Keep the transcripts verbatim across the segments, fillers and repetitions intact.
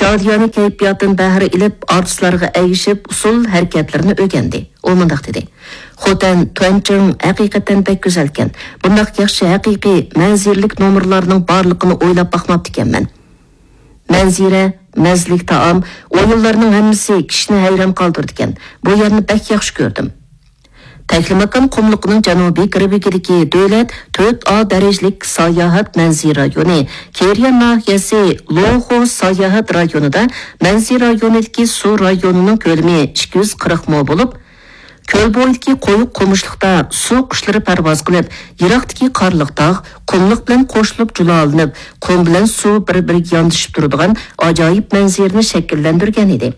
رادىيونىڭ كەيپىياتىدىن بەھرە ئېلىپ، ئارتىسلارغا ئەگىشىپ، ئۇسسۇل ھەرىكەتلىرىنى ئۆگەندى. ئۇ مۇنداق دېدى: «خوتەن تۇەنچىڭ ھەقىقەتەن بەك گۈزەلكەن. بۇنداق ياخشى ھەقىقىي مەنزىرىلىك نومۇرلارنىڭ بارلىقىنى ئويلاپ باقماپتىكەنمەن.» مەنزىرە، مەززىلىك تائام، ئويۇنلارنىڭ ھەممىسى كىشىنى ھەيران قالدۇرىدىكەن. بۇ يەرنى بەك ياخشى كۆردۈم. تەكلىماكان قۇملۇقىنىڭ جەنۇبىي غەربىدىكى دۆلەت تۆت ئا دەرىجىلىك ساياھەت مەنزىرە رايونى، كېرىيە ناھىيەسى لوخۇ ساياھەت رايونىدا مەنزىرە رايونىدىكى سۇ رايونىنىڭ كۆلىمى ئىككى يۈز قىرىق مو بولۇپ، كۆل بويىدىكى قويۇق قومۇشلۇقتا سۇ قۇشلىرى پەرۋاز قىلىپ، يىراقتىكى قارلىق تاغ، قۇملۇق بىلەن قوشۇلۇپ جۇلالىنىپ، قۇم بىلەن سۇ بىر-بىرىگە ياندىشىپ تۇرىدىغان ئاجايىپ مەنزىرىنى شەكىللەندۈرگەن ئىدى.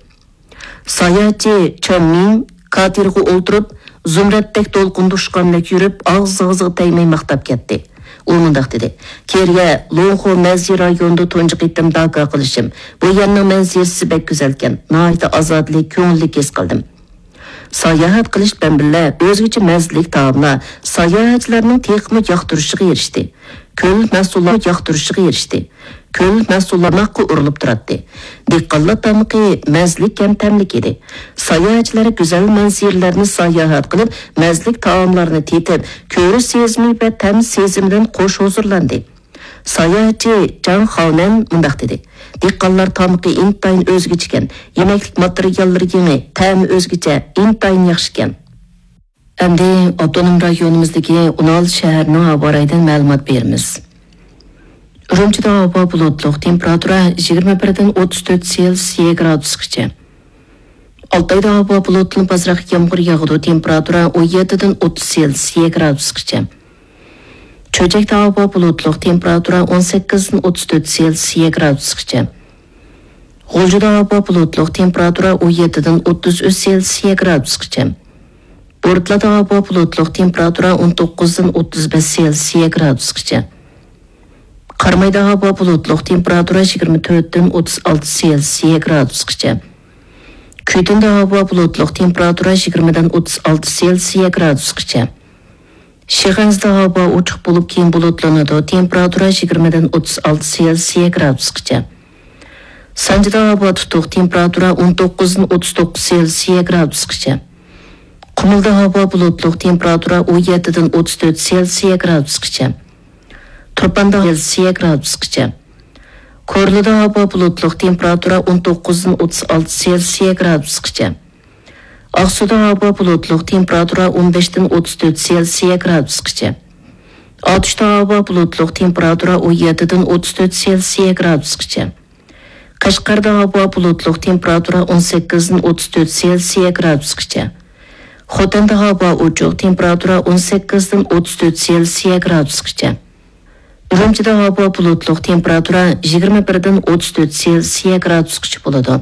ساياھەتچى چېن مىڭ كاتېرغا ئولتۇرۇپ، زۇمرەتتەك دولقۇندا ئۇچقاندەك يۈرۈپ، ئاغزى-ئاغزىغا تەگمەي ماختاپ كەتتى. ئۇ مۇنداق دېدى: «كېرىيە لوڭخۇ مەنزىرە رايونىدا تۇنجى قېتىم داكا قىلىشىم. بۇ يەرنىڭ مەنزىرىسى بەك گۈزەلكەن، ناھايىتى ئازادىلىك، كۆڭۈللۈك ھېس قىلدىم.» ساياھەت قىلىش بىلەن بىللە، ئۆزگىچە مەززىلىك تائاملار ساياھەتچىلەرنىڭ تېخىمۇ ياقتۇرۇشىغا ئېرىشتى. كۆل مەھسۇلاتى ياقتۇرۇشىغا ئېرىشتى. كۆل مەھسۇلاتى ئۇرۇلۇپ تۇراتتى. دېھقانلار تامىقى مەززىلىك ھەم تەملىك ئىدى. ساياھەتچىلەر گۈزەل مەنزىرىلەرنى ساياھەت قىلىپ، مەززىلىك تائاملارنى تېتىپ، كۆرۈش سېزىمى ۋە تەم سېزىمىدىن خوش ھۇزۇرلاندى. ساياھەتچى جاڭ خاۋنەن مۇنداق دېدى: «دېھقانلار تامىقى ئىنتايىن ئۆزگىچىكەن، يېمەكلىك ماتېرىياللىرى يېڭى، تەمى ئۆزگىچە، ئىنتايىن ياخشىكەن.» ئەمدى ئاپتونوم رايونىمىزدىكى ئون ئالتە شەھەرنىڭ ھاۋا رايىدىن مەلۇمات بېرىمىز. ئۈرۈمچىدە ھاۋا بۇلۇتلۇق، تېمپېراتۇرا يىگىرمە بىردىن ئوتتۇز تۆت سېلسىيە گرادۇسقىچە. ئالتايدا ھاۋا بۇلۇتلىنىپ، ئازراق يامغۇر ياغىدۇ، تېمپېراتۇرا ئون يەتتىدىن ئوتتۇز سېلسىيە گرادۇسقىچە. چۆچەكتە ھاۋا بۇلۇتلۇق، تېمپېراتۇرا ئون سەككىزدىن ئوتتۇز تۆت سېلسىيە گرادۇسقىچە. غۇلجىدا ھاۋا بۇلۇتلۇق، تېمپېراتۇرا ئون يەتتىدىن ئوتتۇز ئۈچ سېلسىيە گرادۇسقىچە. بورتالادا ھاۋا بۇلۇتلۇق، تېمپېراتۇرا ئون توققۇزدىن ئوتتۇز بەش سېلسىيە گرادۇسقىچە. قارامايدا ھاۋا بۇلۇتلۇق، تېمپېراتۇرا يىگىرمە تۆتتىن ئوتتۇز ئالتە سېلسىيە گرادۇسقىچە. كۈيتۇندا ھاۋا بۇلۇتلۇق، تېمپېراتۇرا يىگىرمىدىن ئوتتۇز ئالتە سېلسىيە گرادۇسقىچە. شىخەنزىدە ھاۋا ئوچۇق بولۇپ، كېيىن بۇلۇتلىنىدۇ، تېمپېراتۇرا يىگىرمىدىن ئوتتۇز ئالتە سېلسىيە گرادۇسقىچە. سانجىدا ھاۋا تۇتۇق، تېمپېراتۇرا ئون توققۇزدىن ئوتتۇز توققۇز سېلسىيە گرادۇسقىچە. قۇمۇلدا ھاۋا بۇلۇتلۇق، تېمپېراتۇرا ئون يەتتىدىن ئوتتۇز تۆت سېلسىيە گرادۇسقىچە. تۇرپاندا سېلسىيە گرادۇسقىچە. كورلىدا ھاۋا بۇلۇتلۇق، تېمپېراتۇرا ئون توققۇزدىن ئوتتۇز ئالتە سېلسىيە گرادۇسقىچە. ئاقسۇدا ھاۋا بۇلۇتلۇق، تېمپېراتۇرا ئون بەشتىن ئوتتۇز تۆت سېلسىيە گرادۇسقىچە. ئاتۇشتا ھاۋا بۇلۇتلۇق، تېمپېراتۇرا ئون يەتتىدىن ئوتتۇز تۆت سېلسىيە گرادۇسقىچە. قەشقەردە ھاۋا بۇلۇتلۇق، تېمپېراتۇرا ئون سەككىزدىن ئوتتۇز تۆت سېلسىيە گرادۇسقىچە. خوتەندە ھاۋا ئوچۇق، تېمپېراتۇرا ئون سەككىزدىن ئوتتۇز تۆت سېلسىيە گرادۇسقىچە. ئۈرۈمچىدە ھاۋا بۇلۇتلۇق، تېمپېراتۇرا يىگىرمە بىردىن ئوتتۇز تۆت سېلسىيە گرادۇسقىچە بولىدۇ.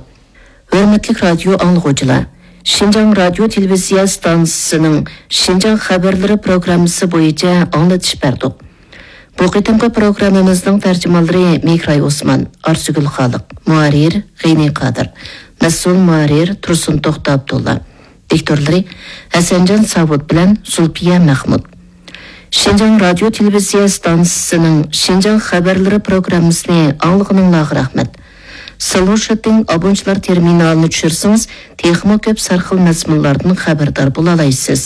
ھۆرمەتلىك رادىيو ئاڭلىغۇچىلار، شىنجاڭ رادىيو تېلېۋىزىيە ئىستانسىسىنىڭ شىنجاڭ خەۋەرلىرى پروگراممىسى بويىچە ئاڭلىتىش بەردۇق. بۇ قېتىمقى پروگراممىمىزنىڭ تەرجىمانلىرى مېھراي ئوسمان، ئارزۇگۈل خالىق، مۇھەررىر غېنى قادىر، مەسئۇل مۇھەررىر تۇرسۇن توختى ئابدۇللا. دىكتورلىرى ھەسەنجان ساۋۇت بىلەن زۇلپىيە مەخمۇت. شىنجاڭ رادىيو تېلېۋىزىيە ئىستانسىسىنىڭ شىنجاڭ خەۋەرلىرى پروگراممىسىنى ئاڭلىغىنىڭلارغا رەھمەت. سىلۋېر شوتتىڭ ئابۇنچىلار تېرمىنالىنى چۈشۈرسىڭىز، تېخىمۇ كۆپ سەرخىل مەزمۇنلاردىن خەۋەردار بولالايسىز.